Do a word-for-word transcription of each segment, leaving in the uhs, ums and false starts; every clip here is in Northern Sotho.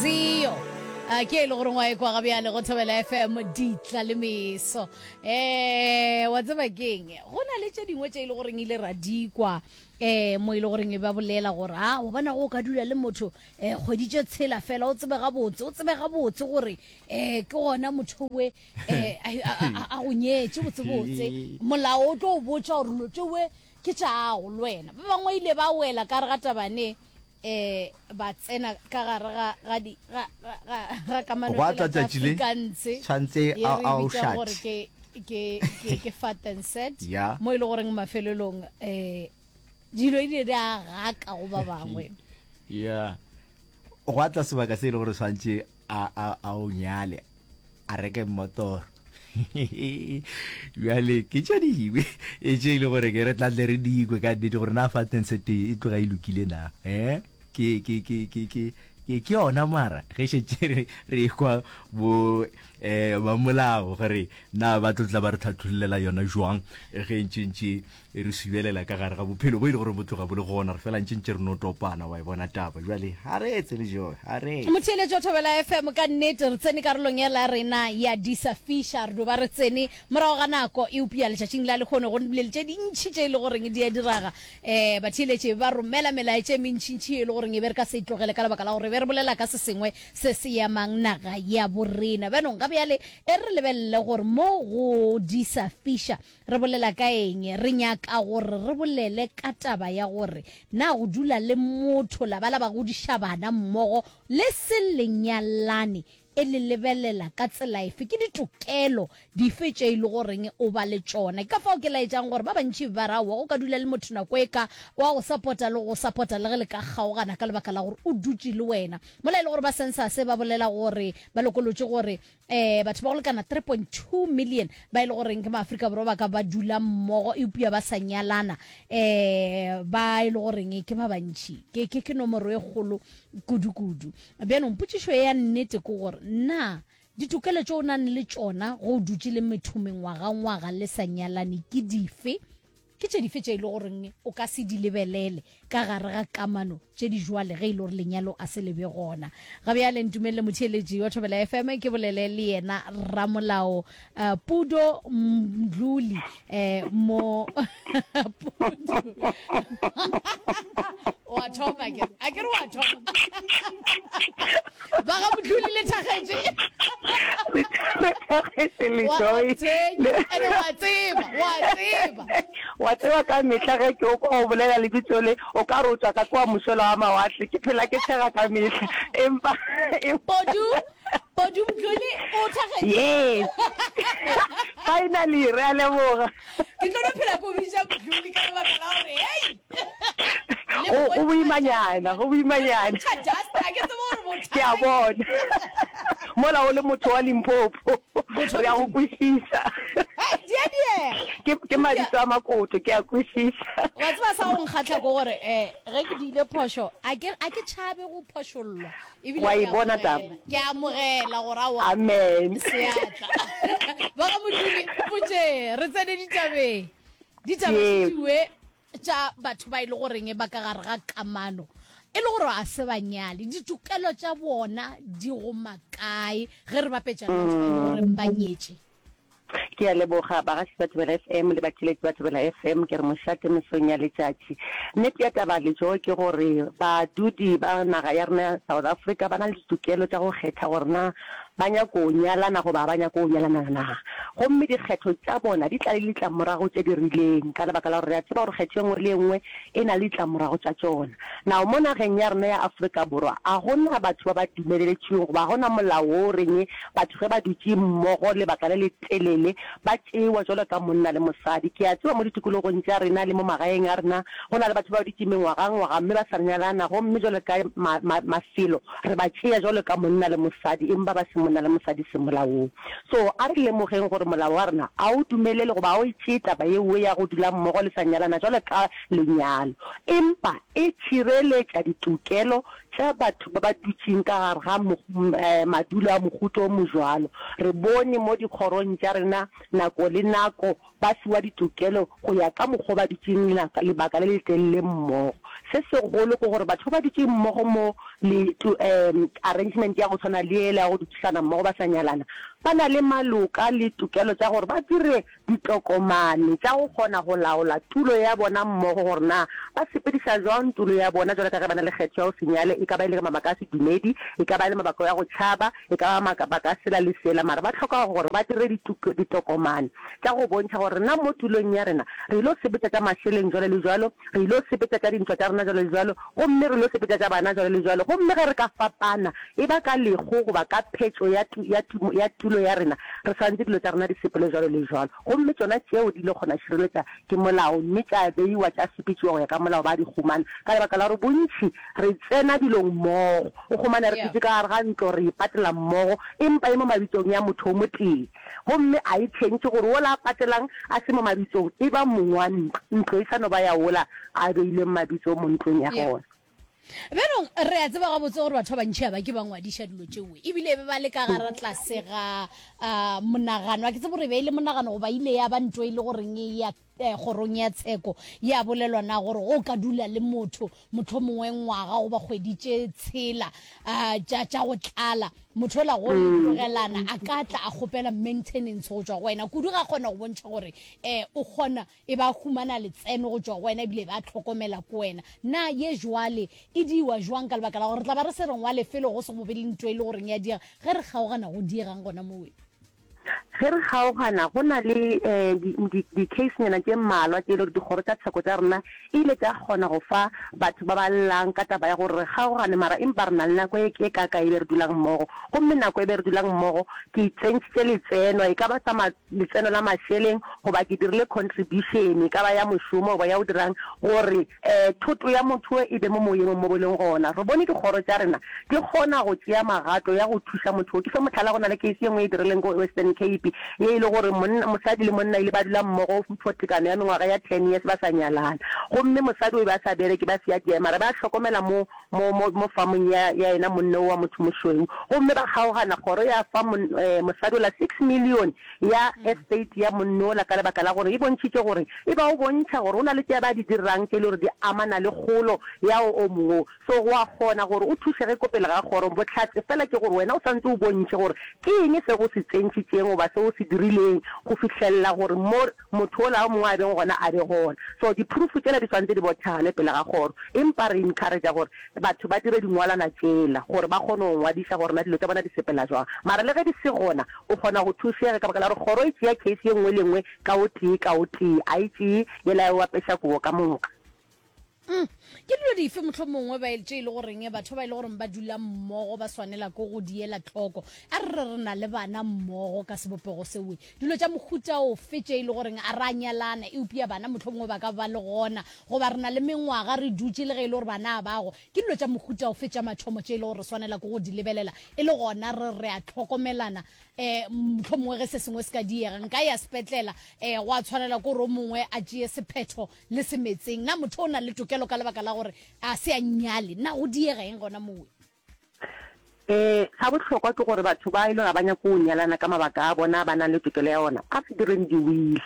Zio a ke e le gore ngwa e kwa ga bjale go Thobela F M ditla le meso. um wa tseba keng, go na le tše dingwe tše e le goreng ile ra dikwa um mo e le goreng e ba bolela gore a wa bona go ka dula le motho um kgwedi tše tshela fela, o tsebe gabotse o tsebe gabotse gore um ke gona motho we um a go nyetše botsebotse, molao o tlo o botša gore lo tšewe ke tšago le wena. Ba bangwe ile ba wela ka re ga tabane um ba tsena ka gare ga ga di ga ga ga ga kamano Gwa tla tsela tša tšatši le, Afrikaans tshwantse ye a re a o bitsang gore shate. ke ke ke ke fat and set, Ya. mo e le goreng mafelelong um dilo e di di a gaka go ba bangwe. Ya, gwa tla sebaka se e le gore tshwantse a a a o nyale, a reke mmotoro. Bjale ke tše dingwe e tše e le gore ke re tla tle re dikwe ka nnete gore na fat and set e tloga e lokile na, eh ke ke ke ke ke ke ke yona. Mara ge šetše re re kwa bo eh ba molao gore na ba tlo tla ba re tlhatlhollela yona jwang ge ntše ntše re subelela ka gare ga bophelo bo e le gore bo tloga bo le gona, re fela ntše ntše re no topana. Wa e bona taba jwale, ga re etse le joe, ga re etse. Motheeletši wa Thobela F M, ka nnete re tsene karolong ya la rena ya Disa Fisha. Re do ba re tsene morago ga nako, eupša letšatšing la lehono go bile le tše dintšhi tše e le goreng di a diraga. um batheeletši ba romela melaetša e mentšintšhi e le goreng e be re ka se e tlogele ka lebaka la gore be re bolela ka se sengwe se se yamang naga ya borena. Bjanong ga bjale e re lebelele gore mo go Disa Fisha re bolela ka eng. Re nyaka gore re bolele ka taba ya gore na go dula le motho la ba la ba godiša bana mmogo le se lenyalane e le lebelela ka tsela efe, ke ditokelo dife tše e le goreng o ba le tšona. Ke ka fao ke laetšang gore ba bantši ba ra wa go ka dula le motho nako e ka wa go support-a le go support-a le ge le ka kgaogana ka lebaka la gore o dutše le wena, mola e le gore ba census ba bolela gore ba lokolotše gore um batho ba go lekana three point two million ba e le goreng ke maAfrika Borwa ba ka ba dula mmogo eupša ba sa nyalana, um ba e le goreng ke ba bantši, ke ke ke nomoro e kgolo kudu-kudu. Bjanong potšišo ya nnete ke gore na ditokelo tše o nang le tšona go o dutše le motho mengwaga-ngwaga le sa nyalane ke dife, ke tše dife tše e le goreng o ka se di lebelele ka gare ga kamano tše di jwale ge e le gore lenyalo a se lebe gona. Ga bjale ntumelele, motheeletši wa Thobela F M, ke bolele le yena ramolao uh, Pudo Mdluli. um mo Pudo wa thoma, ke a ke re wa thoma ba ga Mdluli le thagetše. Lethagetse le wa Joy. Ene wa tseba wa tseba. Wa tseba, ka mehla ge ke o kwa o bolela lebitso le, o ka re o tswa ka kwa mošola wa mawatle. Ke phela ke tshega ka mehla, empa Podu Podu Mdluli o thagetše. Yes, finally, re a leboga. Ke tlo no phela ko bitša Mdluli ka lebaka la gore hei go go boimanyana, go boimanyana. Just a ke tsebe gore Ke a bothata bona mola o le motho wa Limpopo, re a go kwešiša. Di a diega. ke ke mabitso a makoto, ke a kwešiša. Wa tseba sa go nkgatlha ko gore um ge ke diile phošo, a ke a ke tšhabe go phošollwa ebile Wa ke e bona amogela taba. Ke amogela gore aowa, Amen. Seatla ba ga Modluli potše, re tsene ditabeng, ditaba Ye. šediwe tša batho ba e le goreng ba ka gare ga kamano e le gore a se banyale, ditokelo tša bona di go makae ge re bapetša le batho ba e le goreng ba nyetše? Ke a leboga, bagaši ba Thobela F M le batheeletši ba Thobela F M. Ke re mošate mesong ya letšatši. Nnete ya taba letšo ke gore badudi ba naga ya rena ya South Africa ba na le ditokelo tša go kgetha gore na ba nyako nyalana goba ba nyako nyalana na, gomme dikgetho tša bona di tla le ditlamorago tše di rileng, ka lebaka la gore re a tseba gore kgetho e nngwe le e nngwe e na le ditlamorago tša tšona. Now mo nageng ya rena ya Afrika Borwa a gona batho ba ba dumeleletšweng goba ga gona molao wo o reng batho ge ba dutše mmogo lebaka le letelele ba tšewa jwalo ka monna le mosadi. Ke a tseba mo ditikologong tša rena le mo magaeng a rena go na le batho ba dutše mengwagangwaga mme ba sa nyalana, gomme jwalo ka ma, ma, mafelo re ba tšea jwalo ka monna le mosadi, empa ba se monna le mosadi semolaong. So a re lemogeng gore molao wa rena a o dumelele goba a o e tšee taba yeo ya go dula mmogo le sa nyalana jwalo ka lenyalo, empa e tšhireletša ditokelo tša batho ba ba dutšeng ka gare ga eh, madulo a mohuta o mojwalo. Re bone mo dikgorong tša rena nako le nako ba fiwa ditokelo go ya ka mokgwa ba dutšeng lebaka le letelele mmogo. Se segolo ke gore batho ba ba dutšeng mmogo mo le tu, um, arrangement ya go tshwana le yela ya go dudišana mmogo ba sa nyalana, ba na le maloka le tokelo tša gore ba dire ditokomane tša go kgona go laola tulo ya bona mmogo, gore na ba sepediša jwang tulo ya bona jwalo ka ge ba na le kgetho ya go se nyale, e ka ba e le mabaka a sedumedi, e ka ba e le mabaka ya go tšhaba, e ka ba mabaka a sela le sela, mara ba hloka gore ba dire ditokomane tša go bontšha gore rena mo tulong ya rena re ilo sepetša tša mašeleng jwalo le jwalo, re ilo sepetša tša dintwa tša rena jwalo le jwalo, gomme re ilo sepetša tša bana jwalo le jwalo. Gomme ge re ka fapana, e ba ka lehu goba ka phetšo ya, ya, ya tulo ya rena, re swanetše dilo tša rena di sepele jwalo le jwalo. Gomme tšona tšeo di ile kgona šireletša ke molao, mme tša beiwa tša sepetšiwa go ya ka molao, ba di humana. Ka lebaka la gore bontši re tsena dilong mmogo, o humana re dutše ka gare ga ntlo re e patela mmogo, empa e mo mabitsong ya motho o motee. Gomme a e tšhentšhe gore wola a patelang a se mo mabitsong, e ba mong wa ntlo, ntlo e sa no ba ya wola a beileng mabitso mo ntlong ya gona. Bjanong re a tseba gabotse gore batho ba bantši ga ba ke ba ngwadiša dilo tšeo, ebile be ba le ka gara tlase ga uh, monagano. A ke tsebe gore e be e le monagano goba ile ya ba nto e le goreng e ya eh, kgorong ya tsheko ya bolelwa na gore go ka dula le motho mohlomongwe ngwaga goba kgwedi tše tshela uh, tša tša go tlala motho ola go le tlogelana a ka tla a kgopela maintenance go tšwa go wena kudu ga kgona go bontšha gore eh, o kgona e ba humana letseno go tšwa go wena ebile ba tlhokomela ko wena. Na ye jwale e diwa jwang ka lebaka la gore re tla ba re se re ngwale felo go se go be le ntho e le goreng ya diega ge re kgaogana go diegang gona mowe? Ge re kgaogana go na le um di-case-nyana tše mmalwa tše e le gore dikgoro tša tsheko tša rena e ile tša kgona go fa batho ba ba llang ka taba ya gore re kgaogane mara empa re na le nako e kaaka e be re dulang mmogo. Gomme nako e be re dulang mmogo ke tsentšhitše letseno, e ka ba sa letseno la mašeleng goba ke dirile contribution, e ka ba ya mošomo goba ya go dirang, gore um thoto ya motho e be mo moyeng mo bo leng gona. Re bone dikgoro tša rena di kgona go tšea magato ya go thuša motho. Ke fe mohlala, go na le case ye nngwe e dirileng ko Western Cape ye e le gore monna, mosadi le monna ile ba dula mmogo for tekano ya mengwaga ya ten years ba sa nyalana. Gomme mosadi o be a sa bereke, ba se ya diema, mara ba hlokomela mo, mo, mo, mo farmong ya, ya yena monna o wa motho mošweu. Gomme ba kgaogana, kgoro ya fa mon, eh, mosadi ola six million ya estate ya monna ola ka lebaka la gore e bontšhitše gore e ba o bontšha gore o na le tše ba di dirang tše e le gore di amana le kgolo ya o mongwe o. So go a kgona gore o thušege ko pele ga kgoro. Bohlatse fela ke gore wena o swanetše o bontšhe gore ke eng se o se tsentšhitšeng goba se o se dirileng go fihlelela gore mo motho ola o mongwe a beng gona a be gona. So di-proof tšela di swanetše di bothane pele ga kgoro. Empa re encourage-a gore batho ba dire dingwalwana tšela gore ba kgone go ngwadiša gore na dilo tša bona di sepela jwang. Mara le ge di se gona, o kgona go thušega ka baka la gore kgoro e tšea case ye nngwe le nngwe ka o tee ka o tee, a e tšee yela ya o apeša kobo ka moka. Mm. Ke dilo dife mohlomongwe ba tše e le goreng batho ba e le goreng ba dula mmogo ba swanela ke go di ela tlhoko? A re re re na le bana mmogo ka sebopego sewe, dilo tša mohuta ofe tše e le goreng a ra nyalana eupša bana mohlomongwe ba ka ba le gona, goba re na le mengwaga re dutše le ge e le gore bana a bago, ke dilo tša mohuta ofe tša mathomo tše e le gore re swanela ke go di lebelela e le gona re re a tlhokomelana? Um mohlomongwe ge se sengwe se ka diega nka ya sepetlela, um go a tshwanela ke gore o mongwe a tšee sephetho le semetseng. Na motho o na le tokelo ka lebaka la gore a se a nyale? Na go diega eng gona mowe? Um sa bohlokwa ke gore batho ba e le ga ba nyake go nyalana ka mabaka a bona ba nang le tokelo ya ona, a re direng di-will,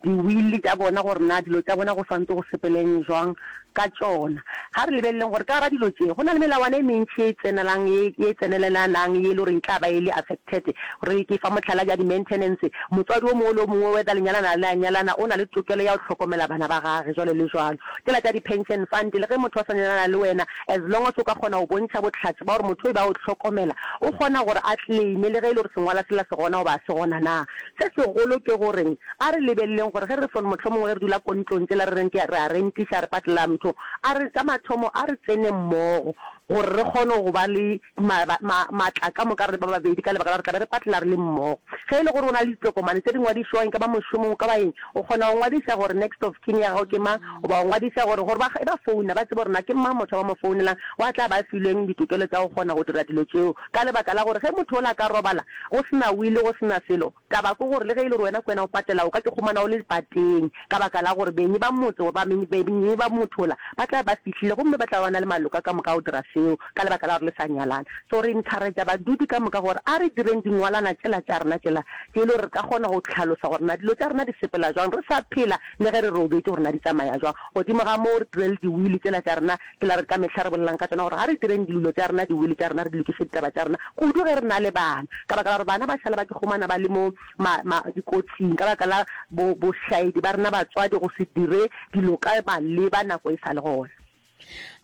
di-will tša bona gore na dilo tša bona go swantse go sepeleng jwang ka tšona. Ga re lebeleleng gore ka gara dilo tše go na le melawana e mentši ye e tsenelang, ye e tsenelelanang, ye e le gore e tla ba e le affected. Re ke fa mohlala bja di-maintenance, motswadi o mongwe le o mongwe whether le nyalana le a nyalana o na le tokelo ya go hlokomela bana ba gage jwalo le jwalo. Tšela tša di-pension fund, le ge motho a sa nyalana le wena, as long as o ka kgona go bontšha bohlatse ba gore motho o be a o hlokomela, o kgona gore a claime le ge e le gore sengwala sela se gona goba a se gona na. Se segolo ke goreng a re lebeleleng gore ge re fon mohlomongwe ge re dula ko ntlong tšela re reng ke re a rentiša re patela motho, a re sa mathomo a re tsene mmogo gore re kgone go ba le ma, ma, maatla ka moka re le ba babedi ka lebaka la gore tla be re patela re le mmogo. Ge e le gore o na le ditokomane tše di ngwadišwang, e ka ba mošomong, o ka ba eng, o kgona go ngwadiša gore next of kin ya gago ke mang, goba o ngwadiša gore, gore ba, ge ba founa ba tsebe gore na ke mang motho wa ba mo founelang wa tla ba filweng ditokelo tša go kgona go dira dilo tšeo. Ka lebaka la gore ge motho ola a ka robala go se na wili, go se na selo, taba ke gore le ge e le gore wena ke wena o patelago, o ka ke humana o le pateng ka baka la gore benyi ba motse goba benyi ba motho ola ba tla ba fihlile gomme ba tla ba ba na le maloka ka moka a go dira seo. seo ka lebaka la gore le sa nyalana. So re encourage badudi ka moka gore a re direng dingwalana tšela tša rena tšela tše e le gore re ka kgona go hlalosa gore na dilo tša rena di sepela jwang re sa phela le ge re robetše gore na di tsamaya jwang. Godimo ga moo re dire le diwili tšela tša rena tšela re ka mehla re bolelang ka tšona gore ga re direng dilo tša rena diwili tša rena re di lokiše ditaba tša rena kudu ge re na le bana ka baka la gore bana ba šala ba ikhumana ba le mo ma, ma, dikotsing ka baka la bo, bošaedi ba rena batswadi go se dire dilo ka maleba nako e sa le gona.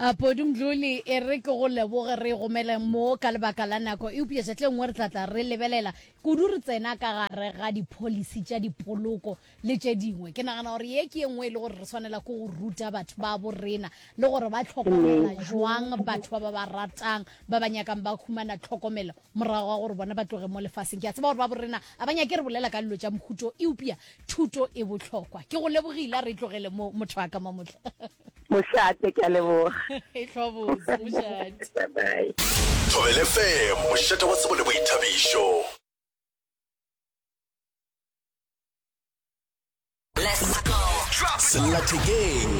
A Podi Mdluli, e re ke go leboge re gomele mo ka lebaka la nako, eupša tšatši le nngwe re tla tla re lebelela kudu re tsena ka gare ga dipholisi tša dipoloko le tše dingwe. Ke nagana gore ye ke ye nngwe e le gore re swanela ke go ruta batho ba bo rena le gore ba tlhokomela jwang batho ba ba ba ratang, ba ba nyakang ba humana tlhokomelo morago ga gore bona ba tloge mo lefaseng. Ke a tseba gore ba bo rena a ba nyake re bolela ka dilo tša mohuto, eupša thuto e bohlokwa. Ke go lebogile, a re e tlogele mo motho wa ka Mamotla. Mošate, ke a leboga. E hlwa botse, mošate. Bye bye. Thobela F M, mošate wa tsebo le boithabišo. Sellathekeng,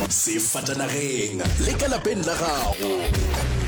sefatanageng le ka lapeng la gago.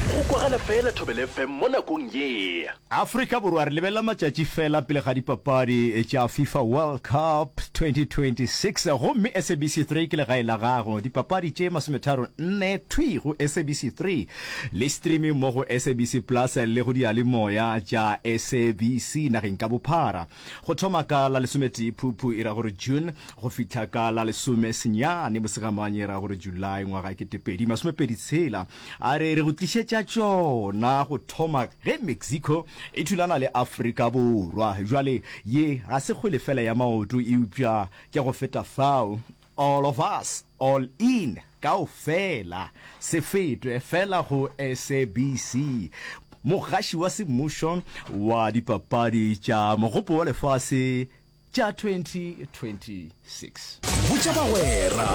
Go kwagala fela Thobela F M mo nakong ye. Afrika Borwa re lebelela matšatši fela pele ga dipapadi tša FIFA World Cup twenty twenty six gomme S A B C three ke legae la gago. Dipapadi tše masometharo nne thwi go S A B C three le streaming mo go S A B C Plus le go diyalemoya tša S A B C nageng ka bophara. Go thoma ka la lesometee Phuphu e ra gore June go fihla ka la lesome senyane Mosegamanye e ra gore July ngwaga ketepedi masomepedi tshela. A re re go tlišetša tšona go thoma ge Mexico e thulana le Afrika Borwa. Bjale ye ga se kgwele fela ya maoto eupša ke go feta fao. All of us, all in, kaofela, se fetwe fela go S A B C, mogaši wa semmušo wa dipapadi tša Mogopo wa Lefase tša twenty twenty-six. Botša bagwera,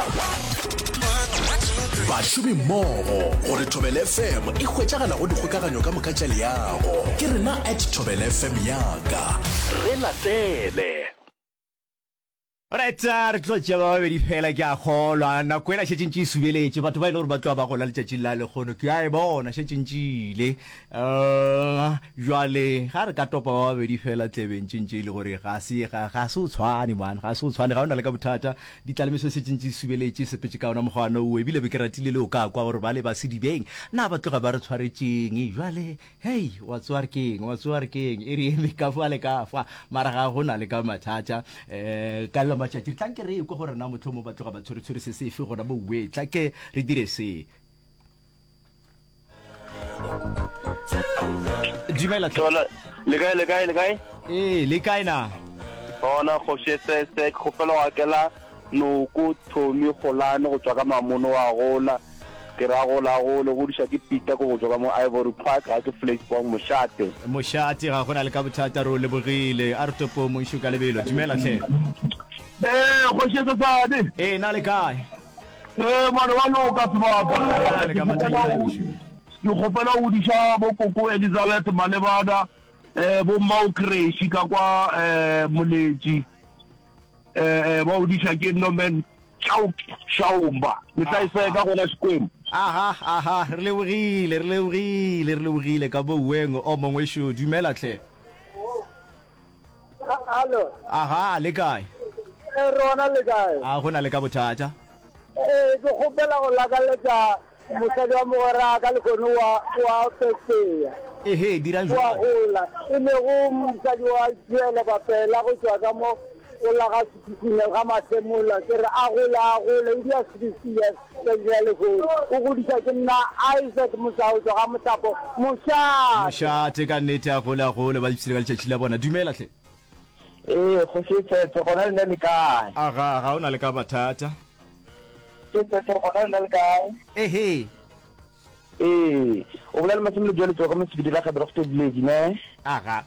bašomimmogo gore Thobela F M e hwetšagala go dikgokaganyo ka moka tša leago. Ke rena at Thobela F M yaka. Re latele. Alright, re tlo tšea ba babedi fela ke a kgolwa. Nako ela šetše ntše e subeletše. Batho ba e le gore ba tloga ba gola letšatšing la lekgono. Ke a e bona šetše ntše ile. Uh, jwale ga re ka topa ba babedi fela tlebeng tše ntše e le gore ga se ga, ga se o tshwane man, ga se o tshwane, ga o na le ka bothata. Ditlalemeso šetše ntše e subeletše, sepetše ka ona mokgwa wo. Ebile be ke ratile le o ka kwa gore ba le ba sedibeng na ba tloga ba re tshwaretšeng. Jwale Hei, wa tsoa re keng, wa tsoa re keng, e re eme ka fa le ka fa, mara ga go na le ka mathata. Um ka la matšatši, tla nke re ekwe gore na mohlomong ba tloga ba tshwere-tshwere se sefe gona mo we, tla ke re dire se. Dumela hle. Thola, le kae, le kae, le kae? Ee, le kae na? Gona kgoši se se ke kgopela go akela Noko Tommy Golane go tšwa ka Mamono wa gola. Ke ra gola gole godiša ke Peter ko go tšwa ka mo Ivory Park ga ke Vleisbong mošate. Mošate ga gona le ka bothata re o lebogile. A re topo mongšu ka lebelo. Dumela hle. Ee kgoši e sesane. Ee na le kae? Ee mane wa loka sebaka. Na le ka mathata ngšu. Ke kgopela go godiša bo koko Elizabeth Malebana eh bo mmao Creshi ka kwa eh Moletši eh eh ba godiša ke Norman Chauke Shaumba. Le tla e seka gona Xikwembu. Aha, aha, re lebogile, re lebogile, re lebogile ka boweng o mongwe šo. Dumela hle. Hallo. Aha, le kae? E rona le kae? A go na le ka bothata. Ee, ke kgopela go lakaletša mosadi wa mogwera ka lekgono wa wa Peseya. Ehe, dirang Wa jwalo. gola, e lego mosadi wa Joele Bapela go tšwa ka mo go la ga Sekhukhune ga Masemola. Ke re a gole a gole, o dia sixty years tšatši la lehono. O godiša ke nna Isaac Mosau tšwa ga Mohlapo. Mošate. Mošate ka nnete, a gole a gole, ba ipshine ka letšatši la bona. Dumela hle. Ee, kgoši e tshetse, gona lena le kae? Aga, ga o na le ka mathata. E tshetse, gona lena le kae? Ehe. Ee, o bolela le Masome Lejwale tšwa ka Mosebedi la Gaberogte Village, ne? Aga.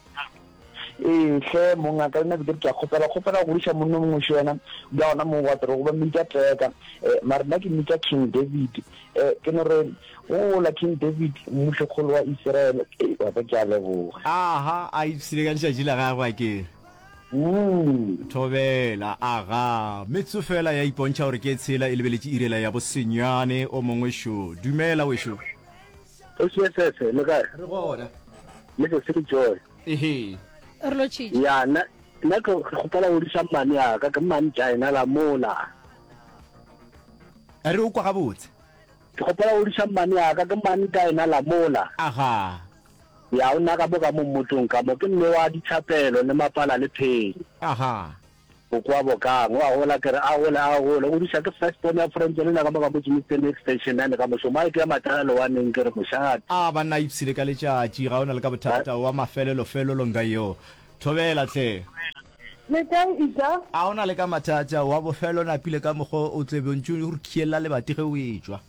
Ee, hle mongaka, le nna be ke re ke a kgopela, kgopela go godiša monna o mongwe šo yena, bja gona moo wa torogo, ba mmitša Teka. Eh, mara nna ke mmitša King David. Eh, ke no re, gola King David, mmušokgolo wa Isiraele. Ee, wa ka ke a leboga. Aha, a ipshine ka letšatši la gagwe a ke. Mm. Thobela, aga. Metso fela ya ipontšha gore ke tshela e lebeletše irela ya bosenyane o mongwe šo. Dumela wešo. Kgoši S S, le kae? Re gona. Le se se Joy. Ehe. Re lotšhitše. Ya, nna nna ke ke kgopela go godiša mmane ya ka, ke mmane Jaina la mola. Re o kwa gabotse. Ke kgopela go godiša mmane ya ka, ke mmane Jaina la mola. Aga. Ya, o nna ka mo ka mo mmotong ka mo, ke mme wa dithapelo le mapala le pheng. Aga. O kwa bokang, o a gola, ke re a gole, a gole. O godiša ke first born ya French le nna ka mo ka mo Germiston Extension nine ka mošomo. A ke ya matala lewaneng ke re mošate. A banna ipshine ka letšatši, ga o na le ka bothata wa mafelelo-felelo nka yo. Thobela hle. Le kae Ija? A o na le ka mathata wa bofelo napile ka mokgo o tle be o ntše o re khiella lebati ge o etšwa.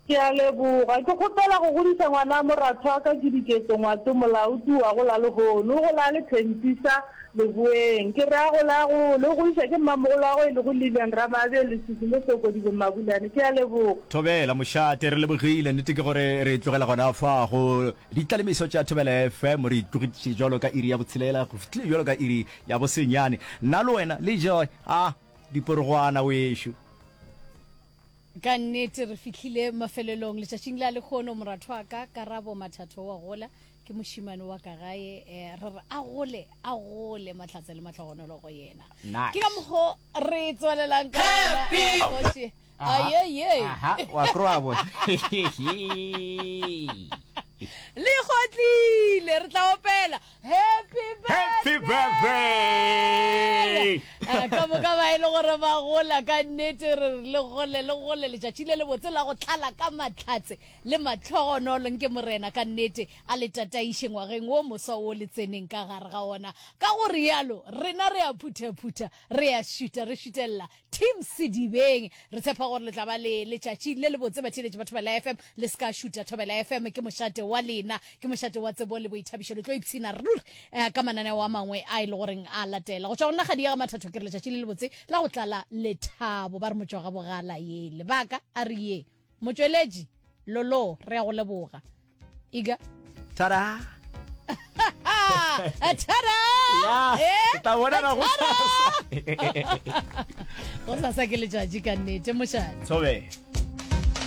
Ke a leboga. Ke kgopela go godiša ngwana moratho wa ka ke Diketso Ngwato Molaodi wa gola lehono. O gola a le Thentisa Leboeng. Ke re a gole a gole. O godiša ke mmamogolo wa gagwe e lego Lilian Ramabe Leswiswi mo Sokodibeng Mabulane. Ke a leboga. Thobela mošate, re lebogile. Nnete ke gore re tlogela gona fa go ditlalemiso tša Thobela F M. Re itlogitše bjalo ka iri ya botshelela go fihlile bjalo ka iri ya bosenyane. Nna le wena le Joy a diporogwana wešo. Ka nnete re fihlile mafelelong letšatšing la lehono, moratho wa ka Karabo Mathatho wa gola, ke mošemane wa ka gae, eh, re re a gole, a gole, mahlatse le mahlogonolo go yena. Nice. Ke ka mokgo re tswelelang ka gona, eh, kgoši. Ayeye. Aha, wa kroa bo. Le kgotlile, re tla opela happy Happy birthday. Eh, ka moka ba e le gore ba gola ka nnete, re re le gole, le gole, letšatši le lebotse la go tlala ka mahlatse le mahlogonolo. Nke Morena ka nnete a le tataiše ngwageng wo moswa wo le tseneng ka gare ga ona. Ka go rialo rena re a phuthaphutha, re a šuta, re šutelela Team Sedibeng. Re tshepa gore le tla ba le letšatši le lebotse, batheeletši ba Thobela F M. Le se ka šuta, Thobela F M ke mošate wa lena, ke mošate wa tsebo le boithabišo. Le tlo ipshina ruri eh, ka mananeo a mangwe a e le goreng a latela. Go tšwa go nna Kgadi ya ga Mathatho, ke re letšatši le lebotse la go tlala lethabo. Ba re motšwa ga bogala ye lebaka a re ye motšweletši lolo, re ya go leboga. Iga. Tada. Tada. Ya, Eh? tla bonana go Go sasa ke letšatši ka nnete mošate. Thobe.